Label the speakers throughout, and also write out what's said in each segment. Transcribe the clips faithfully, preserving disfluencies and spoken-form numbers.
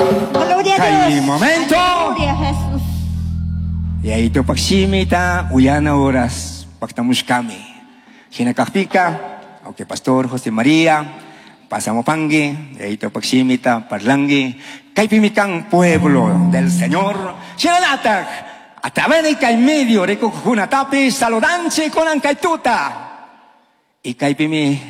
Speaker 1: Gloria a
Speaker 2: Kay
Speaker 1: Dios.
Speaker 2: momento.
Speaker 1: Gloria a Jesús.
Speaker 2: Yayito pakshimita uyana horas paktamushkami. Hinakakpika, okay, Pastor José María, pasamos pangi, yayito pakshimita parlangi, kaypimikan pueblo del Señor, shinanatak, a través de kay medio rikukunatapi saludanchi kunan kaytuta. Y kaypimi,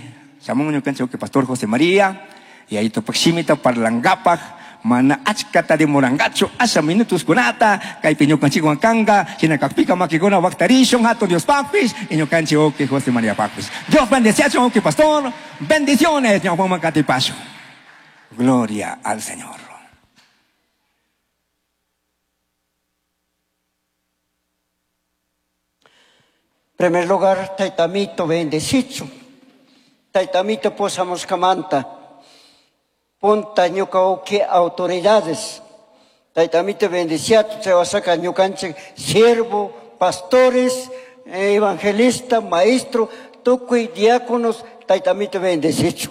Speaker 2: shamun ñukanchik que Pastor José María, yayito pakshimita parlangapak, mana achkata de morangacho asha minutos kunata kaypi ñukanchikwan kanga hinakakpika makikuna waktarishun hatun Dios papis y ñukanchik uki José María papis. Dios bendeciachun uki pastor, bendiciones ñawpaman katipashun. Gloria al Señor.
Speaker 3: Primer lugar, taitamito bendecicho. Taitamito posamos kamanta. Punta ñuka uki autoridades. Taitamito bendiciato, chawasaka ñukanchik siervo, pastores, evangelista, maestro, tukuy diáconos, taitamito bendecicho.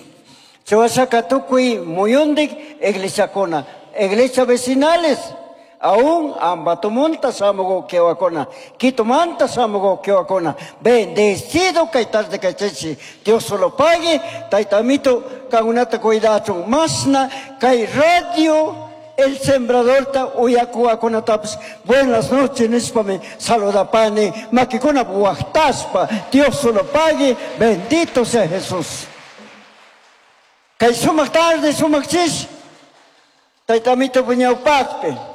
Speaker 3: Chawasaka tukuy muyundik iglesiakuna, iglesia vecinales. Aún ambatumunta samugo kewakona, quitumanta samugo kewakona, bendecido kay tarde kay Dios solo pague, taitamito kangunata cuidachun, masna kay radio el sembrador ta uyakuakuna tapas. Buenas noches, nispame saludapani, makikuna buachtaspa, Dios solo pague, bendito sea Jesús. Kay sumak tarde, sumak chis, taitamito puñaupakpe.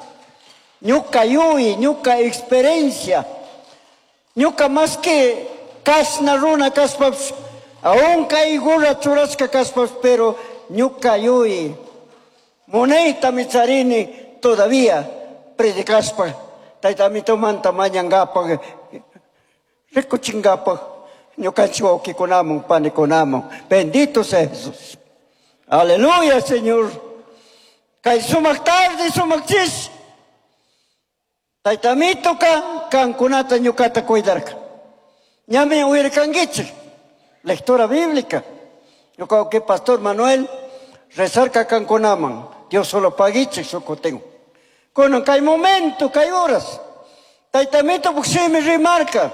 Speaker 3: Ñuka yui, ñuka experiencia, ñuka más que kasna runa kaspaps, aún kaigura churasca kaspaps, pero ñuka yui, moneta mitzarini todavía predicaspa, taitamito manta mañangapa, rikuchingapa, ñuka chiwoki konamon, panikonamon, bendito sea Jesús. Aleluya, Señor. Kay sumak tarde, sumak chis. Taitamito ka kankunata ñukata cuidarka. Ñami uirkanguichik. Lectura bíblica. Yo que Pastor Manuel rezarka kankunaman. Dios solo paguichik socotengo. Konan kay momento, kay horas. Taitamito buximi remarca.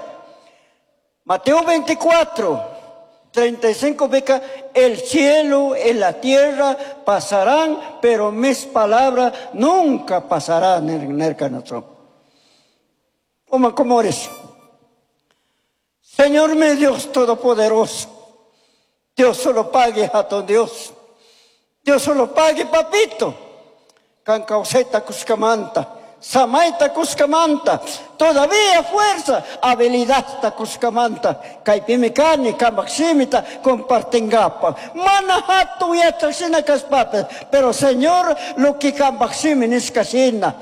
Speaker 3: Mateo veinticuatro, treinta y cinco beca, el cielo y la tierra pasarán, pero mis palabras nunca pasarán en el canazón. ¿Cómo eres? Señor mi Dios Todopoderoso, Dios solo pague a tu Dios. Dios solo pague, papito. Cancauseta cuscamanta, samaita cuscamanta, todavía fuerza, habilidad ta cuscamanta, caipimicani, camaximita, compartengapa. Manahatu yachasina caspape, pero Señor, lo que camaximi es casina.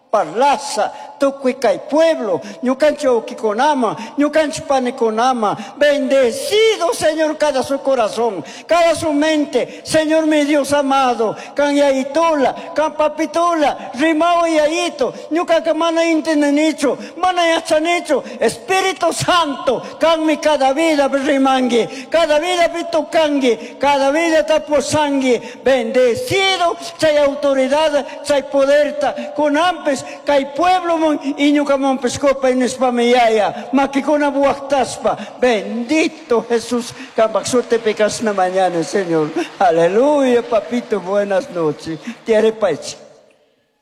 Speaker 3: Parlaza, tukuy kay pueblo, ñukancho ukikonama, ñukancho panikonama, bendecido Señor cada su corazón, cada su mente, Señor mi Dios amado, kan yaitula, kan papitula, rimao yaito, ñukanka mana intenenicho, mana yachanicho, Espíritu Santo, kan mi cada vida rimangi, cada vida pitukangi, cada vida taposangi, bendecido, chay autoridad, chay poderta, con ampes, kay pueblo mon iñukamon pescopa inespamiyaya makikuna buaktaspa, bendito Jesús, kambaksote pecas na mañana, Señor. Aleluya, papito, buenas noches. Tiare pach.